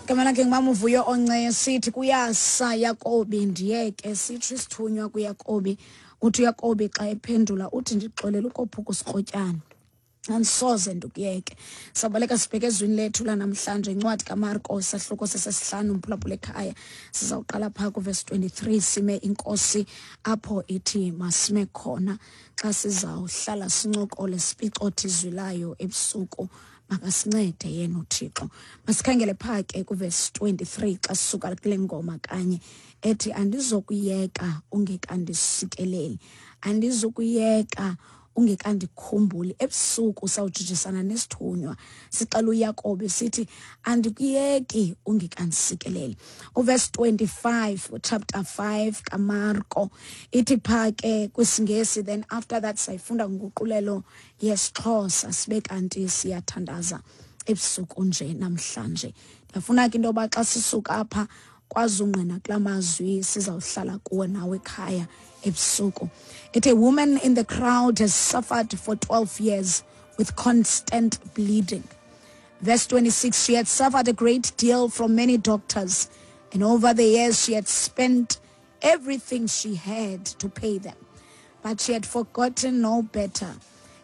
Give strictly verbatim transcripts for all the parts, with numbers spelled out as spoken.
Igama lakhe ngumama uVuyo Onceye. Sithi kuyasa Yakobi, ndiyeke. Sitsho isithunywa kuYakobi. Uthi uYakobi xa ephendula uthi, "Ndixolela ukophuka usikrotyana, andisoze ndikuyeke." Sabaleka sibheke ezwini lethu lanamhlanje, incwadi kaMarko, isahluko sesesihlanu. Mphulaphula ekhaya, sizawuqala phaa kuvesi twenty-three, sime inkosi apho ithi masime khona xa sizawuhlala sincokole, sipicothe izwi layo ebusuku. Makasincede yena uThixo. Masikhangele phaa ke kuvesi twenty-three xa sisuka kule ngoma kanye ethi, "Andizokuyeka ungekandisikeleli, andizokuyeka ungekandikhumbuli." Ebusuku sawujijisana nesithunywa, sixela uYakobi sithi, "Andikuyeki ungekandisikeleli." Uvesi twenty-five, chapter five kaMarko, ithi phaa ke kwisiNgesi, then after that sayifunda nguqulelo yesiXhosa, sibe kanti siyathandaza ebusuku nje namhlanje. Ndiyafuna ke into yoba xa sisuka apha kwazi ungqina kula mazwi sizawuhlala kuwe nawe ekhaya ebusuku. Ithi, "A woman in the crowd has suffered for twelve years with constant bleeding." Verse twenty-six, "She had suffered a great deal from many doctors, and over the years she had spent everything she had to pay them. But she had forgotten no better.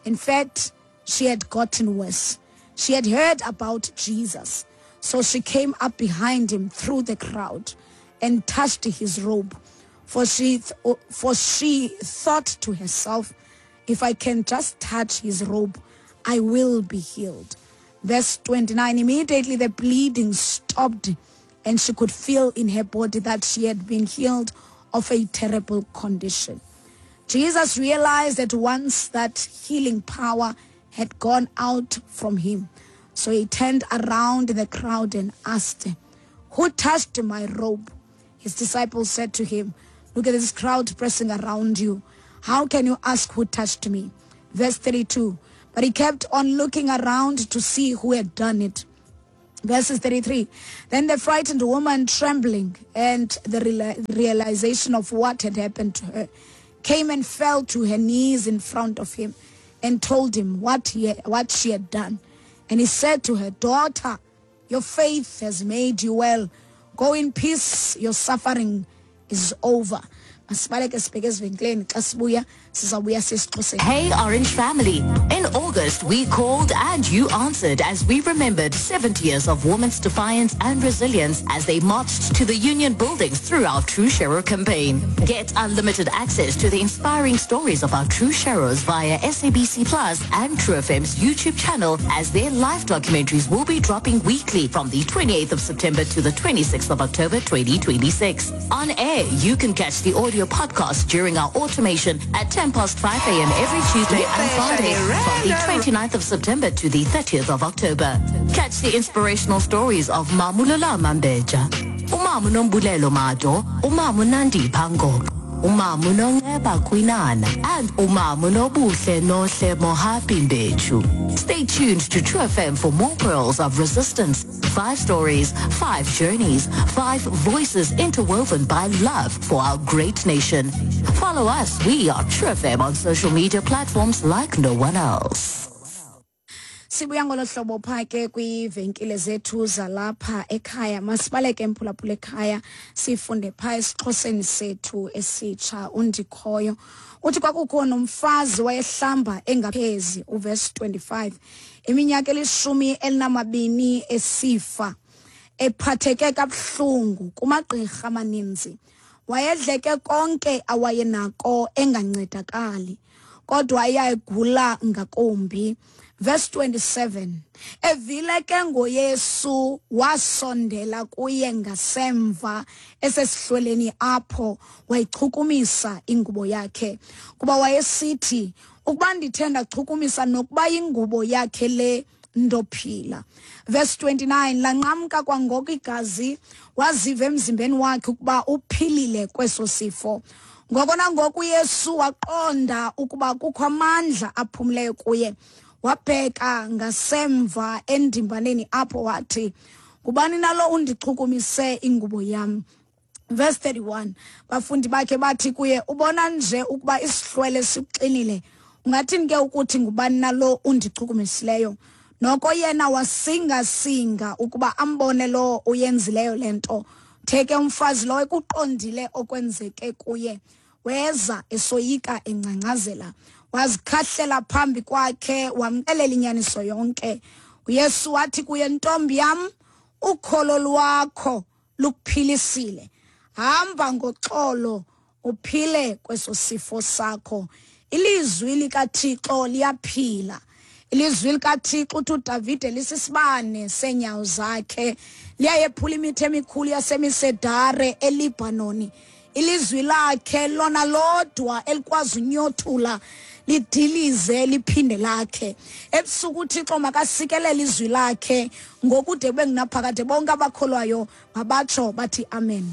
In fact, she had gotten worse. She had heard about Jesus. So she came up behind him through the crowd and touched his robe. For she, th- for she thought to herself, 'If I can just touch his robe, I will be healed.'" Verse twenty-nine, "Immediately the bleeding stopped, and she could feel in her body that she had been healed of a terrible condition. Jesus realized at once that healing power had gone out from him. So he turned around in the crowd and asked, 'Who touched my robe?' His disciples said to him, 'Look at this crowd pressing around you. How can you ask who touched me?' Verse thirty-two, "But he kept on looking around to see who had done it." Verses thirty-three, "Then the frightened woman, trembling and the reala- realization of what had happened to her, came and fell to her knees in front of him and told him what, he, what she had done. And he said to her, 'Daughter, your faith has made you well. Go in peace, your suffering is over.'" Masibaleke sibheke ezivenkileni. Xa sibuya sizawubuya sesiXhoseni. Hey, Orange family. In August, we called and you answered as we remembered seventy years of women's defiance and resilience as they marched to the union buildings through our True Shero campaign. Get unlimited access to the inspiring stories of our True Sheros via S A B C Plus and True F M's YouTube channel, as their live documentaries will be dropping weekly from the twenty-eighth of September to the twenty-sixth of October twenty twenty-six. On air, you can catch the audio podcast during our automation at ten past five a m every Tuesday and Friday from the twenty-ninth of September to the thirtieth of October. Catch the inspirational stories of Mamulala Mambeja, Umamu Nombulelo Mado, Umamu Nandi Pango, Umamu Nonceba Kwinana, and Umamu Nobuhle Nohle Mohapi Mbechu. Stay tuned to True F M for more pearls of resistance. Five stories, five journeys, five voices interwoven by love for our great nation. Follow us. We are True F M on social media platforms like no one else. Sibuya ngolo hlobo phaa ke kwiivenkile zethu zalapha ekhaya. Masibaleke, mphulaphula ekhaya, sifunde phaa esiXhoseni sethu esitsha. Undikhoyo uthi, "Kwakukho nomfazi wayehlamba engaphezi," uvesi twenty-five, "iminyaka elishumi elinamabini esifa, ephatheke kabuhlungu kumagqirha amaninzi. Wayedleke konke awayenako engancedakali, kodwa eyayigula ngakumbi." Verse twenty-seven, "Evile ke ngoYesu, wasondela kuye ngasemva esesihlweleni apho, wayichukumisa ingubo yakhe, kuba wayesithi, 'Ukuba ndithe ndachukumisa nokuba yingubo yakhe le, ndophila.'" Verse twenty-nine, "Lanqamka kwangoko igazi, waziva emzimbeni wakhe ukuba uphilile kweso sifo. Ngoko nangoko uYesu waqonda ukuba kukho amandla aphumileyo kuye. Wabheka ngasemva endimbaneni apho, wathi, 'Ngubani nalo undichukumise ingubo yam?'" Verse thirty-one, "Bafundi bakhe bathi kuye, 'Ubona nje ukuba isihlwele sikuxinile, ungathini ke ukuthi ngubani nalo undichukumisileyo?' Noko yena wasingasinga ukuba ambone lo uyenzileyo le nto. Theke umfazi lowo ekuqondile okwenzeke kuye, weza esoyika engcangcazela, wazikhahlela phambi kwakhe, wamxelela inyaniso yonke. UYesu wathi kuye, ntombi yam, ukholo lwakho lukuphilisile, hamba ngoxolo uphile kweso sifo sakho. Ilizwi likaThixo liyaphila. Ilizwi likaThixo, uthi uDavide, lisisibane seenyawo zakhe, liyayephula imithi emikhulu yasemisedare eLibhanoni. Ilizwi lakhe lona lodwa elikwazi unyothula lidilize liphinde lakhe. Ebusuku uThixo makasikelele izwi lakhe ngokude kube ngunaphakade. Bonke abakholwayo mabatsho bathi amen.